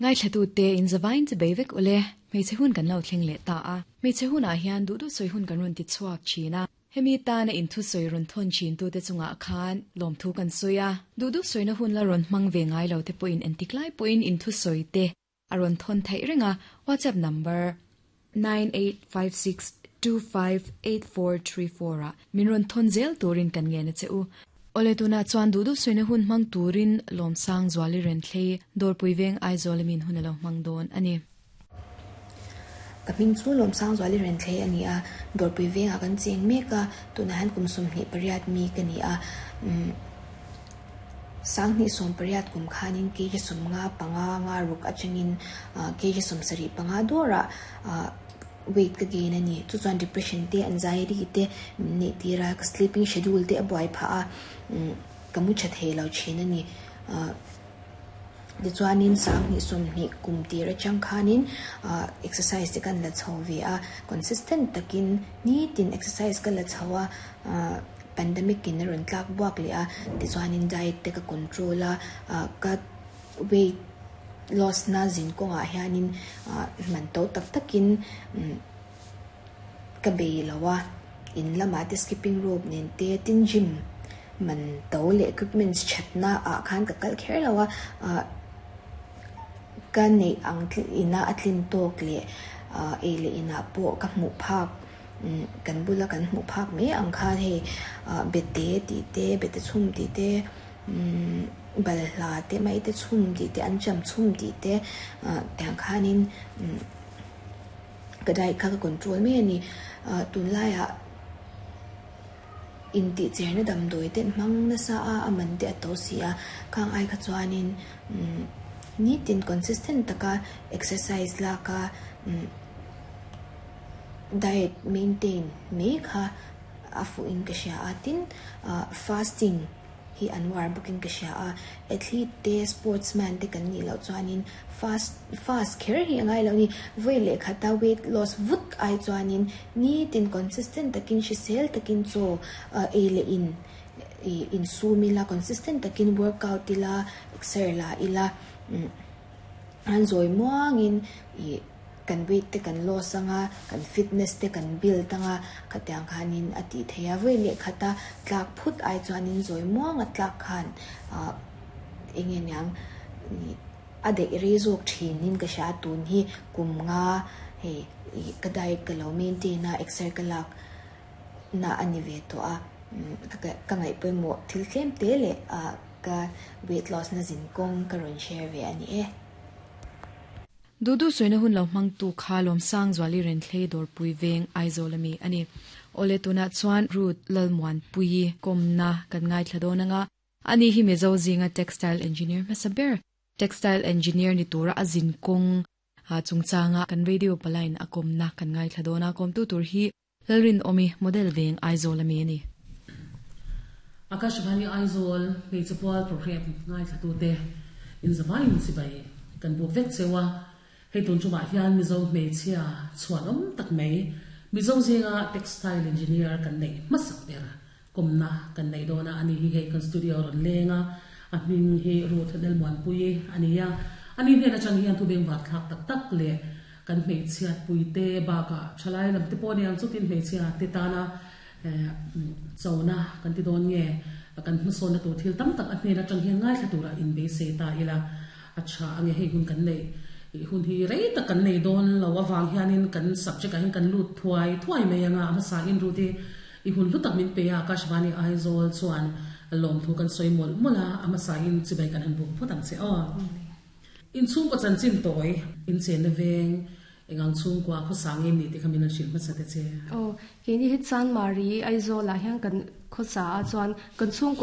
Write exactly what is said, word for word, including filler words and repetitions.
Ngai thlatu te in zawain che beivek ule hmeichhe hun kan lo thleng leh ta a hmeichhe hunah hian duh duh sawi hun kan rawn ti chhuak thin a hemi tana in thu sawi rawn thawn thin tu te chungah khan lawm thu kan sawi a duh duh sawina hun la rawn hmang ve ngai lo te pawhin entik lai pawhin in thu sawi te a rawn thawn theih reng a WhatsApp number nine eight five six two five eight four three four a min rawn thawn zel turin kan ngen a che u ole tuna chuan duh duh sawina hun hmang turin lawmsang zuali ren thlei dawrpui veng Aizawl min hun alo hmang dawn ani ka hming chu lawmsang zuali ren thlei ani a dawrpui vengah kan cheng mek a tunah hian kum sawmhnih pariat mi ka ni a umm sanghnih sawm pariat kum khanin kg sawmnga panga nga ruk atangin kg sawmsarih panga dawrah ah weight ka gain ani chu chuan depression te anxiety te min neih tir a ka sleeping schedule te a buai phah a umm ka mu tha thei lo thin ani ah tichuanin sanghnih sawmhnih kum tir atang khanin ah exercise te kan la chho ve a consistent takin nitin exercise ka la chho a ah pandemic in a rawn tlak buak leh a tichuanin diet te ka control a ah ka weight loss na zin kawngah hianin ah man to tak takin umm ka bei lo a in lamah te skipping rope nen te tin gym man to leh equipments thatna ah khan ka kal kher lo a ah ka neih ang ina a tlin tawk leh ah ei leh inah pawh ka hmuh phak umm kan bula kan hmuh phak mai ang khan hei ah bete tih te bete chhum tih te umm balhla te mai te chhum tih te an cham chhum tih te ah tiang khanin umm ka diet kha ka control mai ani ah tunlaiah in tih cherna damdawi te hmang nasa a a man te a to si a khang ai kha chuanin umm nitin consistent taka exercise laka umm diet maintain mai kha a fuh in ka hria a tin ah fasting hi an war bawkin ka hria a athlete te sportsman te kan nih loh chuanin fast fast kher hi a ngai lo ni vawi leh khata weight loss vut ai chuanin nitin consistent takin hrisel takin chaw ah ei leh in ih insum ila consistent takin workout ila exer la ila umm an zawi muangin ih kan weight te kan loss anga kan fitness te kan build anga khatiang khanin a tih theih a vawi leh khata tlak phut ai chuanin zawi muanga tlak khan ah enge niang ih a daih rei zawk thinin ka hria tun hi kum nga hei ih ka diet ka lo maintain a exer ka lak na ani ve tawh a umm ka ngaih pawimawh thil tlem te leh ah ka weight loss na zin kawng ka rawn share ve ani e duh duh sawina hun lo hmang tu kha lawmsang zuali ren thlei dawrpui veng Aizawl ami ani ole tunah chuan Ruth Lalmuan pui kawmna kan ngai thla dawn anga ani hi Mizo zinga textile engineer hmasa ber textile engineer ni tura a zin kawng a chungchanga kan radio palain a kawmna kan ngai thla dawn a kawmtu tur hi Lalrin Omi model veng Aizawl ami ani Akashvani Aizawl hmeichhe pual program ngai thla tu te in zawain chibai kan buk vek chewa hei tun chungah hian Mizo hmeichhia chhuan awm tak mai Mizo zinga textile engineer kan nei hmasak ber kawmna kan nei dawna ani hi hei kan studio rawn lenga a hming hi Ruth Lalmuanpui ani a ani hnen atang hian thu beng var thlak tak tak leh kan hmeichhiat pui te bakah thalai lam te pawh aniang chutin hmeichhia te tana chona kan ti dawn nge kan hmasawn na tur thil tam tak a hnen atang hian ngai thla tura in beisei ta ila a tha ange hei hun kan nei hun hi rei tak kan nei dawn lo awang hianin kan subject ah hian kan lut thuai thuai mai anga a hmasa in Ruth i i hun hlu tak min pe a Akashvani Aizawl chuan lawm thu kan sawi mawlh mawlh a a hmasa in chibai kan han buk phawt ang che aw in chhungkaw chanchin tawi in chen na veng engang chhungkua khaw sangin ni te kha min an hrilh hmasa te che Oh, keni hi chan mari Aizawl ah hian kan khawsa a chuan kan chhungkua